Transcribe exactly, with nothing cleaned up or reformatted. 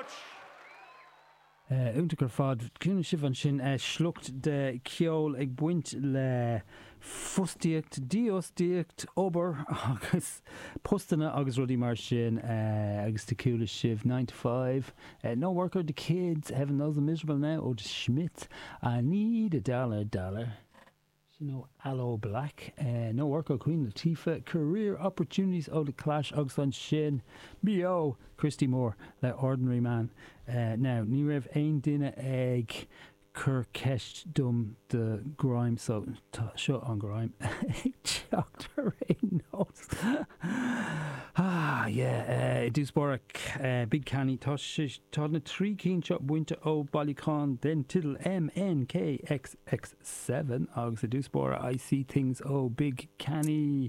much. Iontach ar fad chuala sibh ansin sliocht de ceol ag baint le fostaíocht, dífhostaíocht, obair agus postanna agus rudaí mar sin agus do chuala sibh nine to five, no worker the kids, heaven knows I'm miserable now ó The Smiths, I need a dollar dollar. Sin ó Aloe Blacc, no work ó Queen Latifah, career opportunities ó The Clash agus ansin beo Christy Moore le Ordinary Man. Now ní raibh aon duine ag cur ceist dom do grime so tá seo an grime ag teacht ar aon nós. Ah yeah, i dtús báire Big Canny tá tá na trí cinn seo bainte ó bailiúchán den teideal MNKXX seven agus i dtús báire I See Things ó Big Canny.